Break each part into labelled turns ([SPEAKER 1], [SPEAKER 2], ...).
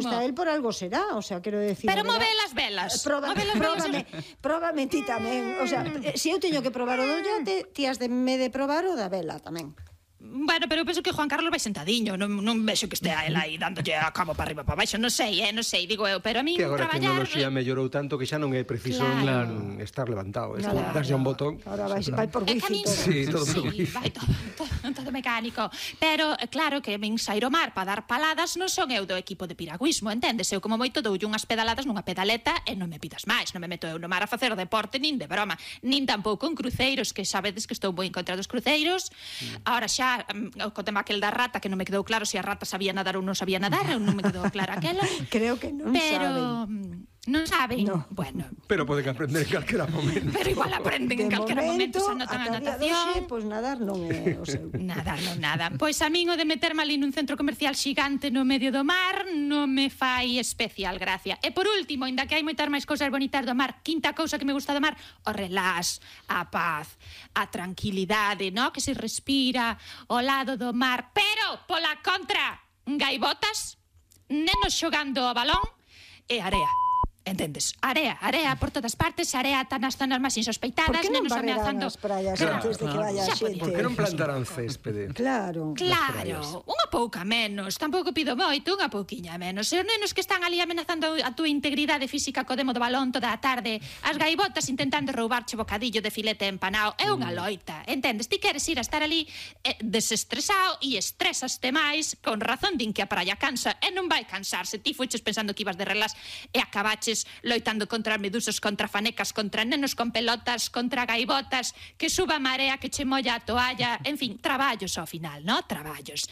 [SPEAKER 1] Está él por algo será, o sea, quero decir...
[SPEAKER 2] Pero move las velas.
[SPEAKER 1] Próbame ti tamén. O sea, se eu teño que probar o do yate, ti has de me de probar o da vela tamén.
[SPEAKER 2] Bueno, pero eu penso que Juan Carlos vai sentadiño. Non vexo que estea ela aí dándolle a cabo para arriba para baixo. Non sei, digo eu. Pero a mí
[SPEAKER 3] que agora a
[SPEAKER 2] traballar...
[SPEAKER 3] tecnoloxía mellorou tanto que xa non é preciso estar levantado. Darse un botón.
[SPEAKER 1] Ahora vai por wifi todo.
[SPEAKER 3] Sí, todo por wifi.
[SPEAKER 2] Vai todo mecánico. Pero, claro, que min sair ao mar para dar paladas non son eu do equipo de piragüismo, entendes? Eu como moito doulle unhas pedaladas nunha pedaleta e non me pidas máis. Non me meto eu no mar a facer deporte nin de broma. Nin tampouco en cruceiros, que sabedes que estou moi en contra dos cruceiros. Ahora xa co tema aquel da rata, que non me quedou claro se a rata sabía nadar ou non sabía nadar, ou non me quedou claro aquela.
[SPEAKER 1] Creo que non saben.
[SPEAKER 2] Non saben?
[SPEAKER 1] No.
[SPEAKER 2] Bueno.
[SPEAKER 3] Pero poden aprender en calquera momento.
[SPEAKER 2] Pero igual aprenden en calquera momento, se anotan a natación.
[SPEAKER 1] Pois nadar non é o seu.
[SPEAKER 2] Nadar non nada. Pois a min o de meterme ali nun centro comercial xigante no medio do mar non me fai especial gracia. E por último, ainda que hai moitas máis cousas bonitas do mar, quinta cousa que me gusta do mar, o relax, a paz, a tranquilidade, no? Que se respira ao lado do mar. Pero, pola contra, gaivotas, nenos xogando o balón e area. Entendes? Area por todas partes, area tan nas zonas máis insospeitadas, nenos ameazando...
[SPEAKER 1] Por que non barrerán as praias antes de que vaya a xente?
[SPEAKER 3] Por que non plantarán céspede?
[SPEAKER 1] Claro.
[SPEAKER 2] Unha pouca menos, tampouco pido moito, unha pouquiña menos. E os nenos que están ali amenazando a túa integridade física co demo do balón toda a tarde, as gaivotas intentando roubarche bocadillo de filete empanao, é unha loita, entendes? Ti queres ir a estar ali desestresado e estresaste máis, con razón din que a praia cansa, e non vai cansarse. Ti fuches pensando que ibas de relax e acabaches loitando contra medusas, contra fanecas, contra nenos con pelotas, contra gaivotas, que suba a marea, que che molla a toalla, en fin, traballos ao final, no? Traballos.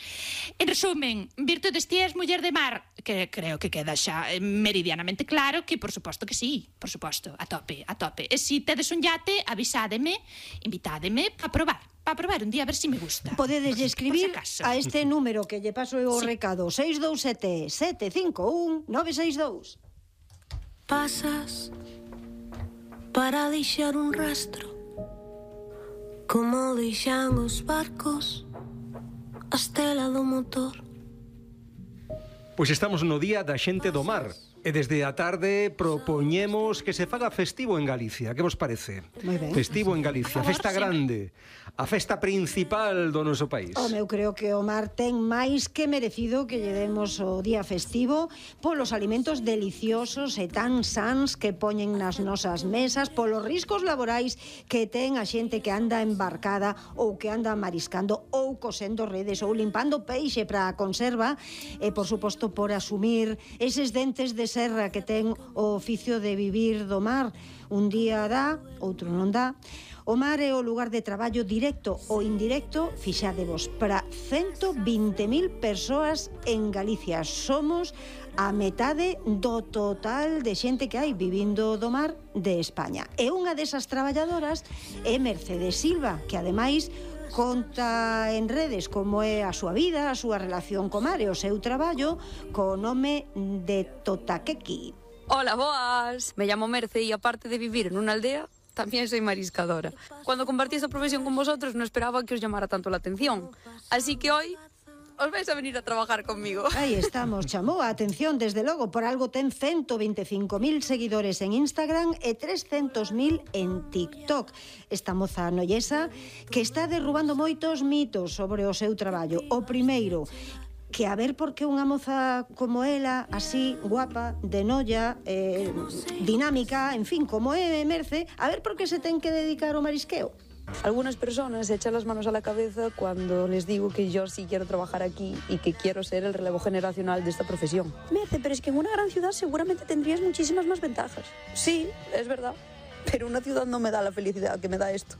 [SPEAKER 2] En resumen, virtudes ti és muller de mar, que creo que queda xa meridianamente claro que, por suposto que sí, por suposto, a tope. E se tedes un yate, avisádeme, invitádeme a probar un día a ver se me gusta.
[SPEAKER 1] Podedes escribir a este número que lle paso eu o recado, 627 751 962.
[SPEAKER 4] Pasas para deixar un rastro, como deixan os barcos a estela do motor.
[SPEAKER 3] Pois estamos no día da xente do mar. E desde a tarde propoñemos que se faga festivo en Galicia. Que vos parece?
[SPEAKER 1] Moi ben.
[SPEAKER 3] Festivo en Galicia, festa grande, a festa principal do noso país.
[SPEAKER 1] Eu creo que o mar ten máis que merecido que lle demos o día festivo polos alimentos deliciosos e tan sans que poñen nas nosas mesas, polos riscos laborais que ten a xente que anda embarcada ou que anda mariscando ou cosendo redes ou limpando peixe para a conserva e, por suposto, por asumir eses dentes de serra que ten o oficio de vivir do mar. Un día dá, outro non dá. O mar é o lugar de traballo directo ou indirecto, fixádevos, para 120.000 persoas en Galicia. Somos a metade do total de xente que hai vivindo do mar de España. E unha desas traballadoras é Mercedes Silva, que ademais conta en redes como é a súa vida, a súa relación co mar e o seu traballo co nome de Totaquequi.
[SPEAKER 5] Hola, boas. Me llamo Merce y aparte de vivir en una aldea, también soy mariscadora. Cuando compartí esta profesión con vosotros no esperaba que os llamara tanto la atención. Así que hoy os vais a venir a trabajar conmigo.
[SPEAKER 1] Aí estamos, chamou a atención, desde logo, por algo ten 125.000 seguidores en Instagram e 300.000 en TikTok. Esta moza nollesa que está derrubando moitos mitos sobre o seu traballo. O primeiro, que a ver por que unha moza como ela, así, guapa, de noia, dinámica, en fin, como é Merce, a ver por que se ten que dedicar ao marisqueo.
[SPEAKER 5] Algunas personas se echan las manos a la cabeza cuando les digo que yo sí quiero trabajar aquí y que quiero ser el relevo generacional de esta profesión. Merce, pero es que en una gran ciudad seguramente tendrías muchísimas más ventajas. Sí, es verdad, pero una ciudad no me da la felicidad que me da esto.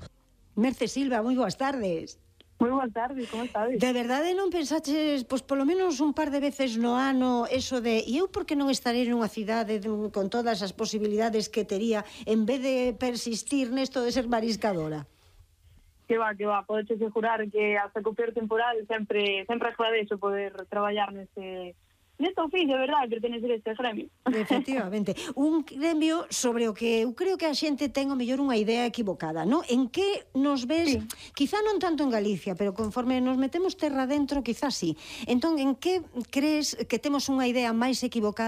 [SPEAKER 1] Merce Silva, moi boas tardes.
[SPEAKER 6] Moi boas tardes, como estades?
[SPEAKER 1] De verdade non pensaches, pois polo menos un par de veces no ano, eso de, e eu por que non estarei nunha cidade con todas as posibilidades que tería, en vez de persistir nesto de ser mariscadora?
[SPEAKER 6] Que va, podes asegurar que hasta co peor temporal sempre agradeixo poder traballar neste oficio, verdad, pertenecer a este gremio.
[SPEAKER 1] Efectivamente. Un gremio sobre o que eu creo que a xente ten o mellor unha idea equivocada, non? En que nos ves, quizá non tanto en Galicia, pero conforme nos metemos terra dentro, quizá sí. Entón, en que crees que temos unha idea máis equivocada